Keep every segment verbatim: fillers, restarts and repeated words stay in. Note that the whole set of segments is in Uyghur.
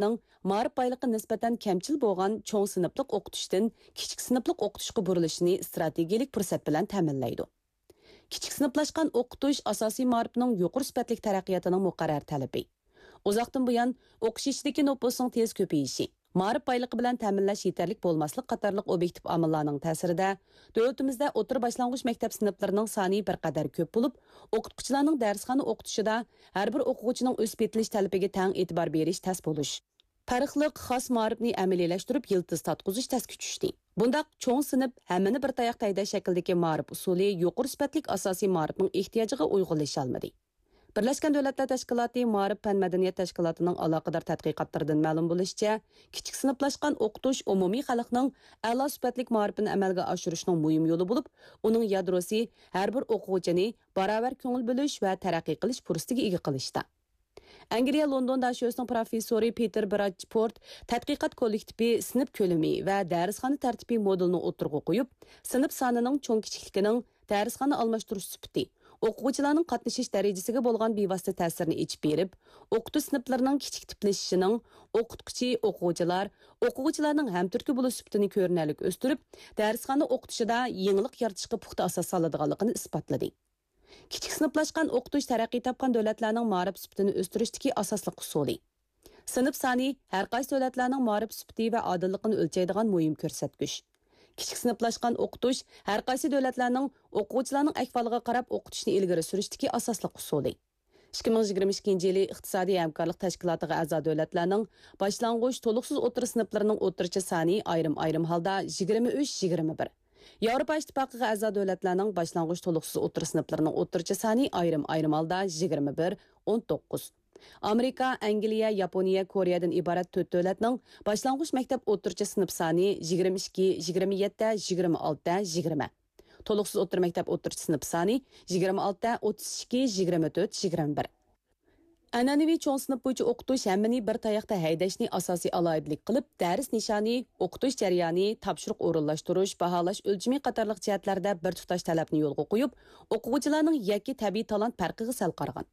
مائارىپنىڭ مائارىپ بايلىقى نىسبەتەن كەمچىل بولغان چوڭ سىنىپلىق ئوقۇتۇشتىن كىچىك سىنىپلىق ئوقۇتۇشقا بۇرۇلۇشىنى ئىستراتېگىيەلىك پۇرسەت بىلەن تەمىنلەيدۇ. كىچىك سىنىپلاشقان ئوقۇتۇش ئاساسىي مائارىپنىڭ يۇقىرى سۈپەتلىك تەرەققىياتىنىڭ مۇقەررەر تەلىپى. ئۇزاقتىن بۇيان، ئوقۇش ئىچىدىكى نوپۇسنىڭ تېز كۆپىيىشى، مائارىپ بايلىقى بىلەن تەمىنلەش يېتەرلىك بولماسلىق قاتارلىق ئوبيېكتىپ ئامىللارنىڭ تەسىرىدە، دۆلىتىمىزدە ئوتتۇرا باشلانغۇچ مەكتەپ سىنىپلىرىنىڭ سانى بىر قەدەر كۆپ بولۇپ، ئوقۇتقۇچىلارنىڭ دەرسخانا ئوقۇتۇشىدا ھەر بىر ئوقۇغۇچىنىڭ ئۆسۈپ يېتىلىش تەلىپىگە تەڭ ئېتىبار بېرىش تەس بولۇش، پەرقلىق خاس مائارىپنى ئەمەلىيلەشتۈرۈپ يىلتىز تارتقۇزۇش تەسكە چۈشتى. بۇنداق چوڭ سىنىپ، ھەممىنى بىر تاياقتا ھەيدەش شەكلىدىكى مائارىپ ئۇسۇلى يۇقىرى سۈپەتلىك ئاساسىي مائارىپنىڭ ئېھتىياجىغا ئۇيغۇنلىشالمىدى. بىرلەشكەن دۆلەتلەر تەشكىلاتى مائارىپ پەن مەدەنىيەت تەشكىلاتىنىڭ ئالاقىدار تەتقىقاتلىرىدىن مەلۇم بولۇشىچە، كىچىك سىنىپلاشقان ئوقۇتۇش ئومۇمىي خەلقنىڭ ئەلا سۈپەتلىك مائارىپىنى ئەمەلگە ئاشۇرۇشنىڭ مۇھىم يولى بولۇپ، ئۇنىڭ يادروسى ھەر بىر ئوقۇغۇچىنى باراۋەر كۆڭۈل بۆلۈش ۋە تەرەققىي قىلىش پۇرسىتىگە ئىگە قىلىشتا. ئەنگلىيە لوندون داشۆسىنىڭ پروفېسسورى پېتېر براچپورت تەتقىقات كوللېكتىپى سىنىپ كۆلىمى ۋە دەرسخانا تەرتىپى مودېلىنى ئوتتۇرىغا قويۇپ، سىنىپ سانىنىڭ چوڭ-كىچىكلىكىنىڭ دەرسخانا ئالماشتۇرۇش سۈپىتى، ئوقۇغۇچىلارنىڭ قاتنىشىش دەرىجىسىگە بولغان بىۋاسىتە تەسىرىنى ئېچىپ بېرىپ، ئوقۇتۇش سىنىپلىرىنىڭ كىچىك تىپلىشىشىنىڭ، ئوقۇتقۇچى، ئوقۇغۇچىلار، ئوقۇغۇچىلارنىڭ ھەمتۈرتكە بولۇش سۈپىتىنى كۆرۈنەرلىك ئۆستۈرۈپ، دەرسخانا ئوقۇتۇشىدا يېڭىلىق يارىتىشقا پۇختا ئاساس سالىدىغانلىقىنى ئىسپاتلىدى. كىچىك سىنىپلاشقان ئوقۇتۇش تەرەققىي تاپقان دۆلەتلەرنىڭ مائارىپ سۈپىتىنى ئۆستۈرۈشتىكى ئاساسلىق ئۇسۇلى. سىنىپ سانى ھەر قايسى دۆلەتلەرنىڭ مائارىپ سۈپىتى ۋە ئادىللىقىنى ئۆلچەيدىغان مۇھىم كۆرسەتكۈچ. كىچىك سىنىپلاشقان ئوقۇتۇش ھەر قايسى دۆلەتلەرنىڭ ئوقۇغۇچىلارنىڭ ئەھۋالىغا قاراپ ئوقۇتۇشنى ئىلگىرى سۈرۈشتىكى ئاساسلىق ئۇسۇلى. ئىككى مىڭ يىگىرمە ئىككىنچى يىلى ئىقتىسادىي ھەمكارلىق تەشكىلاتىغا ئەزا دۆلەتلەرنىڭ باشلانغۇچ، تولۇقسىز ئوتتۇرا سىنىپلىرىنىڭ ئوتتۇرىچە سانى ئايرىم-ئايرىم ھالدا يىگىرمە ئۈچ، يىگىرمە بىر. ياۋروپا ئىتتىپاقىغا ئەزا دۆلەتلەرنىڭ باشلانغۇچ، تولۇقسىز ئوتتۇرا سىنىپلىرىنىڭ ئوتتۇرىچە سانى ئايرىم-ئايرىم ھالدا يىگىرمە بىر، ئون توققۇز. ئامېرىكا، ئەنگلىيە، ياپونىيە، كورېيەدىن ئىبارەت تۆت دۆلەتنىڭ باشلانغۇچ مەكتەپ ئوتتۇرىچە سىنىپ سانى يىگىرمە ئىككى، يىگىرمە يەتتە، يىگىرمە ئالتە، يىگىرمە. تولۇقسىز ئوتتۇرا مەكتەپ ئوتتۇرىچە سىنىپ سانى يىگىرمە ئالتە، ئوتتۇز ئىككى، يىگىرمە تۆت، يىگىرمە بىر. ئەنئەنىۋى چوڭ سىنىپ بويىچە ئوقۇتۇش ھەممىنى بىر تاياقتا ھەيدەشنى ئاساسىي ئالاھىدىلىك قىلىپ، دەرس نىشانى، ئوقۇتۇش جەريانى، تاپشۇرۇق ئورۇنلاشتۇرۇش، باھالاش ئۆلچىمى قاتارلىق جەھەتلەردە بىر تۇتاش تەلەپنى يولغا قويۇپ، ئوقۇغۇچىلارنىڭ يەككە تەبىئىي تالانت پەرقىگە سەل قارىغان.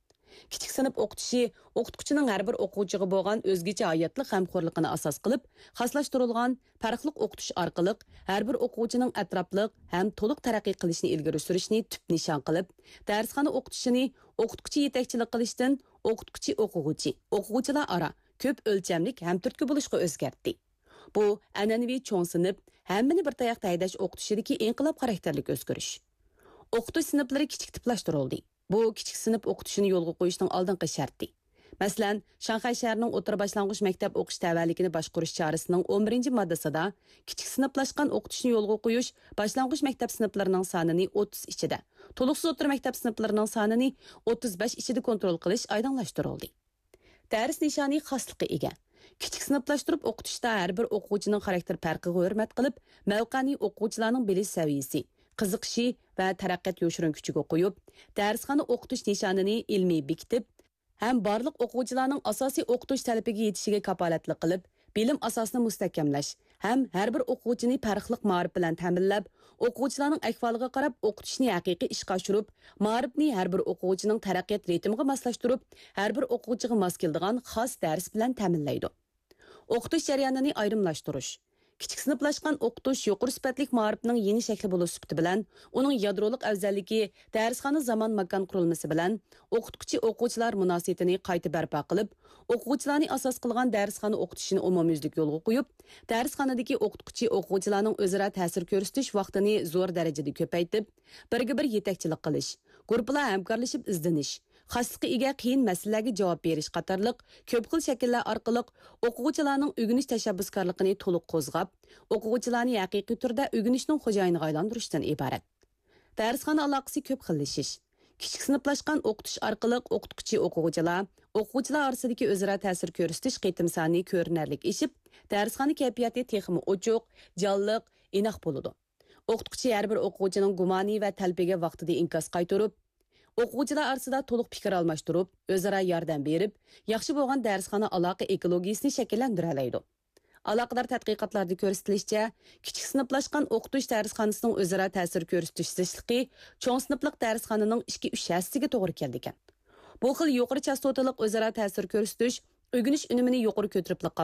كىچىك سىنىپ ئوقۇتۇشى ئوقۇتقۇچىنىڭ ھەر بىر ئوقۇغۇچىغا بولغان ئۆزگىچە ھاياتلىق غەمخورلۇقىنى ئاساس قىلىپ، خاسلاشتۇرۇلغان پەرقلىق ئوقۇتۇش ئارقىلىق ھەر بىر ئوقۇغۇچىنىڭ ئەتراپلىق ھەم تولۇق تەرەققىي قىلىشىنى ئىلگىرى سۈرۈشنى تۈپ نىشان قىلىپ، دەرسخانا ئوقۇتۇشىنى ئوقۇتقۇچى يېتەكچىلىك قىلىشتىن ئوقۇتقۇچى-ئوقۇغۇچى، ئوقۇغۇچىلار ئارا كۆپ ئۆلچەملىك ھەمتۈرتكە بولۇشقا ئۆزگەرتتى. بۇ ئەنئەنىۋى چوڭ سىنىپ، ھەممىنى بىر تاياقتا ھەيدەش ئوقۇتۇشىدىكى ئىنقىلاب خاراكتېرلىك ئۆزگىرىش. ئوقۇتۇش سىنىپلىرى كىچىك تىپلاشتۇرۇلدى. بۇ كىچىك سىنىپ ئوقۇتۇشىنى يولغا قويۇشنىڭ ئالدىنقى شەرتى. مەسىلەن، شاڭخەي شەھىرىنىڭ ئوتتۇرا باشلانغۇچ مەكتەپ ئوقۇش تەۋەلىكىنى باشقۇرۇش چارىسىنىڭ ئون بىرىنچى ماددىسىدا كىچىك سىنىپلاشقان ئوقۇتۇشنى يولغا قويۇش باشلانغۇچ مەكتەپ سىنىپلىرىنىڭ سانىنى ئوتتۇز ئىچىدە، تولۇقسىز ئوتتۇرا مەكتەپ سىنىپلىرىنىڭ سانىنى ئوتتۇز بەش ئىچىدە كونترول قىلىش ئايدىڭلاشتۇرۇلدى. دەرس نىشانى خاسلىققا ئىگە. كىچىك سىنىپلاشتۇرۇپ ئوقۇتۇشتا ھەر بىر ئوقۇغۇچىنىڭ خاراكتېر پەرقىگە ھۆرمەت قىلىپ، مەۋقەنى ئوقۇغۇچىلارنىڭ بىلىش سەۋىيىسى، قىزىقىشى ۋە تەرەققىيات يوشۇرۇن كۈچىگە قويۇپ، دەرسخانا ئوقۇتۇش نىشانىنى ئىلمىي بېكىتىپ، ھەم بارلىق ئوقۇغۇچىلارنىڭ ئاساسىي ئوقۇتۇش تەلىپىگە يېتىشىگە كاپالەتلىك قىلىپ، بىلىم ئاساسىنى مۇستەھكەملەش ھەم ھەر بىر ئوقۇغۇچىنى پەرقلىق مائارىپ بىلەن تەمىنلەپ، ئوقۇغۇچىلارنىڭ ئەھۋالىغا قاراپ ئوقۇتۇشنى ھەقىقىي ئىشقا ئاشۇرۇپ، مائارىپنى ھەر بىر ئوقۇغۇچىنىڭ تەرەققىيات رىتىمىغا ماسلاشتۇرۇپ، ھەر بىر ئوقۇغۇچىغا ماس كېلىدىغان خاس دەرس بىلەن تەمىنلەيدۇ. ئوقۇتۇش جەريانىنى ئايرىملاشتۇرۇش. كىچىك سىنىپلاشقان ئوقۇتۇش يۇقىرى سۈپەتلىك مائارىپنىڭ يېڭى شەكلى بولۇش سۈپىتى بىلەن، ئۇنىڭ يادرولۇق ئەۋزەللىكى دەرسخانا زامان ماكان قۇرۇلمىسى بىلەن ئوقۇتقۇچى ئوقۇغۇچىلار مۇناسىۋىتىنى قايتا بەرپا قىلىپ، ئوقۇغۇچىلارنى ئاساس قىلغان دەرسخانا ئوقۇتۇشىنى ئومۇميۈزلۈك يولغا قويۇپ، دەرسخانىدىكى ئوقۇتقۇچى ئوقۇغۇچىلارنىڭ ئۆزئارا تەسىر كۆرسىتىش ۋاقتىنى زور دەرىجىدە كۆپەيتىپ، بىرگە بىر يېتەكچىلىك قىلىش، گۇرۇپپىلار ھەمكارلىشىپ ئىزدىنىش، خاسلىققا ئىگە قىيىن مەسىلىلەرگە جاۋاب بېرىش قاتارلىق كۆپ خىل شەكىللەر ئارقىلىق ئوقۇغۇچىلارنىڭ ئۆگىنىش تەشەببۇسكارلىقىنى تولۇق قوزغاپ، ئوقۇغۇچىلارنى ھەقىقىي تۈردە ئۆگىنىشنىڭ خوجايىنىغا ئايلاندۇرۇشتىن ئىبارەت. دەرسخانا ئالاقىسى كۆپ خىللىشىش. كىچىك سىنىپلاشقان ئوقۇتۇش ئارقىلىق ئوقۇتقۇچى ئوقۇغۇچىلار، ئوقۇغۇچىلار ئارىسىدىكى ئۆزئارا تەسىر كۆرسىتىش قېتىم سانى كۆرۈنەرلىك ئېشىپ، دەرسخانا كەيپىياتى تېخىمۇ ئوچۇق، جانلىق، ئىناق بولىدۇ. ئوقۇتقۇچى ھەر بىر ئوقۇغۇچىنىڭ گۇمانى ۋە تەلىپىگە ۋاقتىدا ئىنكاس قايتۇرۇپ، ئوقۇغۇچىلار ئارىسىدا تولۇق پىكىر ئالماشتۇرۇپ، ئۆزئارا ياردەم بېرىپ، ياخشى بولغان دەرسخانا ئالاقە ئېكولوگىيىسىنى شەكىللەندۈرەلەيدۇ. ئالاقىدار تەتقىقاتلاردا كۆرسىتىلىشىچە، كىچىك سىنىپلاشقان ئوقۇتۇش دەرسخانىسىنىڭ ئۆزئارا تەسىر كۆرسىتىش زىچلىقى چوڭ سىنىپلىق دەرسخانىنىڭ ئىككى، ئۈچ ھەسسىسىگە توغرا كېلىدىكەن. بۇ خىل يۇقىرى چاستوتىلىق ئۆزئارا تەسىر كۆرسىتىش ئۆگىنىش ئۈنۈمىنى يۇقىرى كۆتۈرۈپلا قالدى.